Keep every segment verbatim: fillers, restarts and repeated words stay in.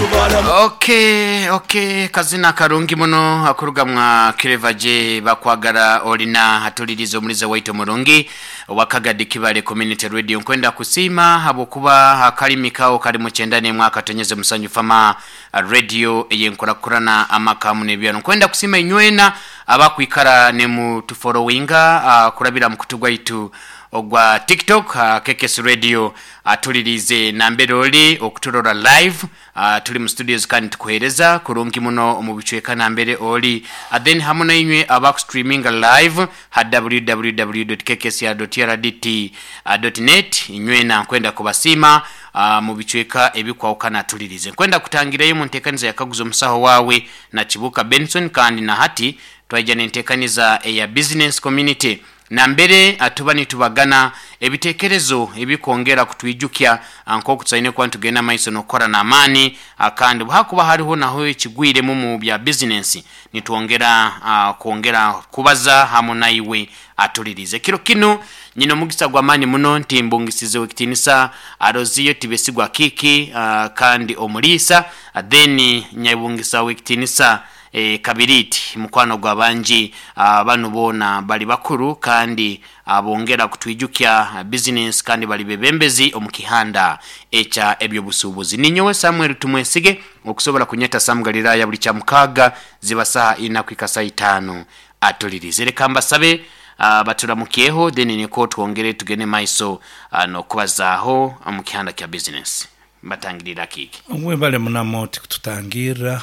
Okay, okay, kazina karungi muno akurugamwa Clever bakwagara olina hatuliriza omuliza waitu murungi wakagadi Kibale Community Radio. Nkwenda kusiima habwokuba akalimi kawo kali mu kyenda n'emwaka tonyeze musanyu fama radio eyenkurakurana amakamu n'ebyano. Nkwenda kusiima inywena abakwikara ne mu tufollowinga uh, kurabira mu kutu gwaitu ogwa TikTok uh, K K S Radio atulirize nambere oli okuturora live uh, tuli mu studios kandi tukuhereza kurungi muno mu bicweka nambere oli uh, then hamwe na inywe abaku streaming live ha w w w dot k k s r dot r d t dot net inywe na nkwenda kubasima uh, mu bicweka ebikwawukana tulirize. Nkwenda kutangirayo mu ntekaniza yakaguza omusaho wawe na Kibuka Benson kandi na hati twaija n'entekaniza eya business community nambere atuba nitubagana ebitekerezo ebikongera kutwijukya nko kuba tugenda maiso nokora na amani kandi hakuba hariho naho ekigwire mu bya business nitwongera uh, kuongera kubaza hamu naiwe atulirize. Kiro kino nyino mugisa gwa mani muno nti mbungisize wekitinisa Aroziyo Tibesigwa Kiki uh, kandi omulisa uh, then nyabungisa wekitinisa E, Kabiriti mukwano gwa banji uh, banu bona bali bakuru kandi abongera uh, kutwijukya business kandi bali bebembezi omukihanda echa ebyo busubuzi. Ninyowe Samuel Tumwesige okusobola kunyeta Sam Galilaya buli kya mukaga ziba saha ina kwika itano atulirize. Reka mbasabe uh, baturamukiyeho then niko twongere tugene maiso uh, no kubazaho mukihanda kya business. Mbatangirira kiki webale munamo tutangira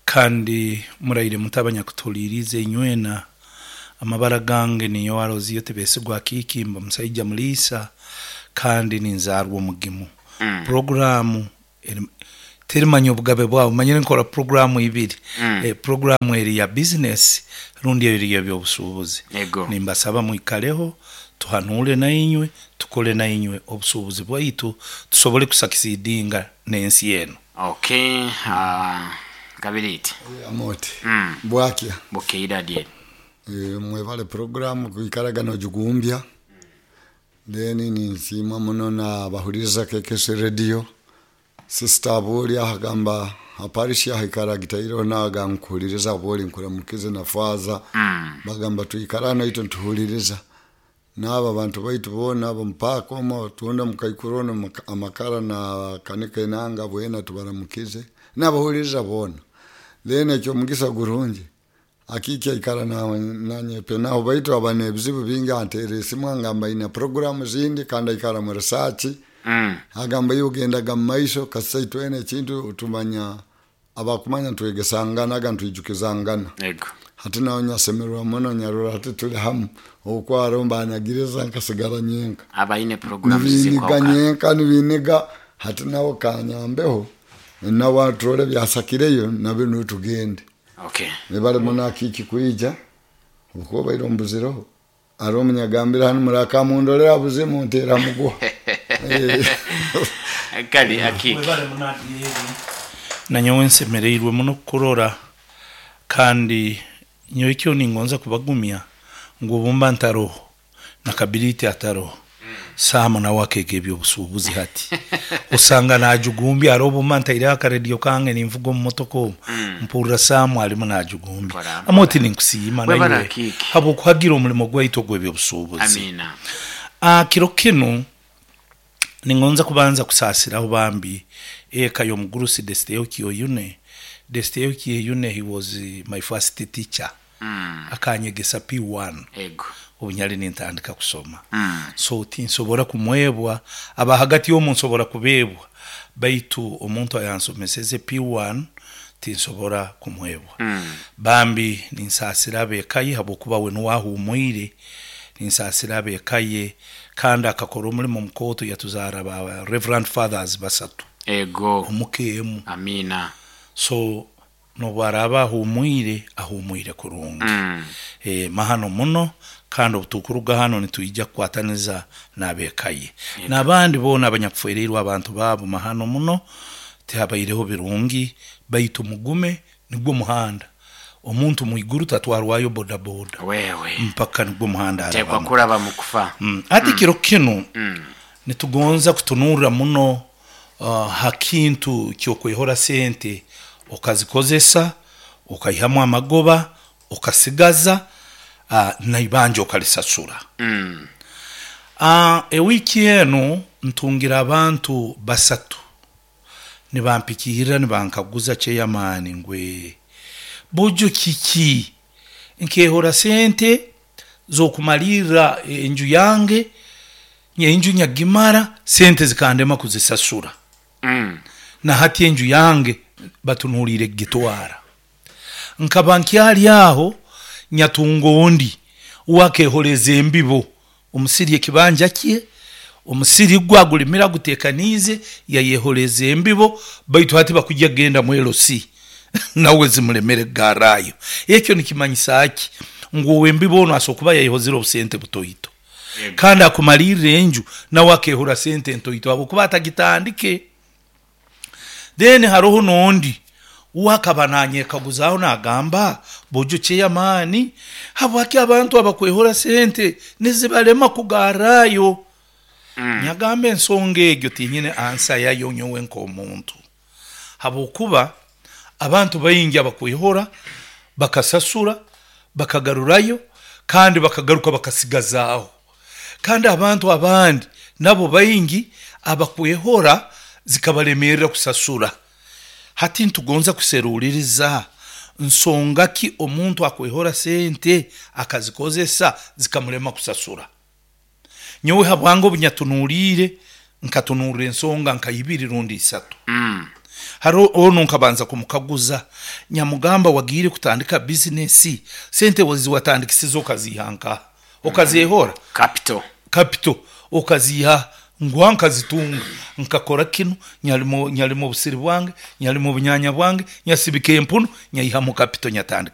kandi muraire mutabanya kutulirize inywena amabara gange niyo Aroziyo Tibesigwa Kiki mba musaija mulisa kandi ninzarwa omugimu. mm. Programu terimanya obugabe bwabo manyire nkora programu ibiri. mm. E, programu eri ya business rundi eri y'ebyobusuubuzi. Nimbasaba mwikaleho tuhanule na inywe tukole na inywe obusuubuzi bwaitu tusobole kusakisidinga n'ensi eno. Okay, uh... Kabiriti amoti mm. Bwakya bukeira die e, mwevale programu kuikaraga no jugumbya mm. Then ninsima muno na bahuriza K K S Radio sister boli ahagamba aparisha hikara gitairo naga nkuliriza boli nkuramukize na faza mm. Bagamba tuikarana ito ntuhuliriza naba bantu baitu bona abo mpaka omo tunda mukaikurono amakara na kanike nanga bwena tubaramukize nabahuliriza bona. Then ekyo mugisa gurungi akiki ikara na nanye penaho baitu abane ebizibu bingi antere simu ngamba ina programu zindi kandi ikara mu research. mm. Agamba yugendaga mu maiso kasai twene ekintu utumanya abakumanya twegesangana aga ntwijukizangana yego hati naho nyasemerwa muno nyarura hati tuli hamu okwaromba anagiriza nkasigara nyenka abaine programu zikwa nyenka nibiniga hati naho kanyambeho nawa trole byasakireyo nabe nutugende. Okay, nibale muna kiki kuija uko bairo mbuziro aro munyagambira hano murakamundolera buzimu ntera mugwa kali akiki webale muna na nyowe nsemereirwe muno kurora kandi nyowe kyo ningonza kubagumya ngo bumba ntaroho na Kabiriti ataroho Samu na wakege ebyobusuubuzi hati usanga najugumbi arobo manta ira akaredio kange nimvugo mu motoko. mm. Mpurira Samu alimu najugumbi amoti ninkusiima naye habo kuhagira omulimo gwaitu gw'ebyobusuubuzi. Amina. Ah, kiro kino ningonza kubanza kusasiraho bambi eka y'omugurusi Desteo Kiyoyune. Desteo Kiyoyune he was my first teacher. mm. Akanyegesa P one ego obunyali nintandika kusoma. mm. So tinsobora kumwebwa aba hagati y'omuntu nsobora kubebwa baitu omuntu ayansomeseze P one tinsobora kumwebwa. mm. Bambi ninsasira abekaye habwokuba we nuwahumwire ninsasira abekaye kandi akakora omulimo mukoto yatuzara ba Reverend Fathers basatu ego omukemu. Amina. So nobwaraba ahumwire ahumwire kurungi. mm. E, mahano muno kandi obutukuruga hano nitujja kukwataniza n'abekaye n'abandi bona abanyakufwereirwe abantu babo mahano muno tihabaireho birungi baitu mugume nigwo muhanda omuntu mwiguru tatwarwayo bodaboda wewe mpaka nigwo muhanda tekwa kuraba mukufa. mm. Ati mm. Kiro kino mm. nitugonza kutunura muno uh, ha kintu kyokwehora sente okazikozesa okaihamu amagoba okasigaza uh, naibanja okalisasura. Mm. Uh, ewiki enu ntungira abantu basatu nibampikirira nibankaguza chairman ngwe buju kiki nkehora sente zokumalirra enju yange enju nyagimara sente zikandema kuzisasura. Mm. Na hati enju yange batunulire gitwara nkaba nkyali aho nyatunga ondi wakehoreza embibo omusiri ekibanja kye omusiri gwagulimira gutekanize yayehoreza embibo baitu hati bakujja genda mu L C nawe zimulemere garayo. Ekyo nikimanyisa ki ngu embibo ono asokuba yayehozera obusente butoito kandi akumalirira enju nawe akehora sente ntoito abo kuba atagitandike. Then haroho nondi wakaba nanyekaguzaho nagamba bojo chairman habwaki abantu abakwehora sente nizibalema kugarayo. Mm. Nyagamba ensonga egyo tinyine ansa yayo nyowe nk'omuntu habwokuba abantu baingi abakwehora bakasasura bakagarurayo kandi bakagaruka bakasigazaaho, kandi abantu abandi nabo baingi abakwehora zikabalemerera kusasura. Hati ntugonza kuseruliriza nsonga ki omuntu akwehora sente akazikozesa zikamulema kusasura. Nyowe habwango bunyatunulire nkatunurira ensonga nkayibiri rundi isatu. Mm. Haro ono nkabanza kumukaguza nyamugamba wagire kutandika business sente waziwatandikisiza okazihanka okazihora capital capital okaziha ngwa nkazitunga nkakora kino nyalimo nyalimo obusiri bwange nyalimo obunyanya bwange nyasibika empuno nyayiha mu capital nyatandika.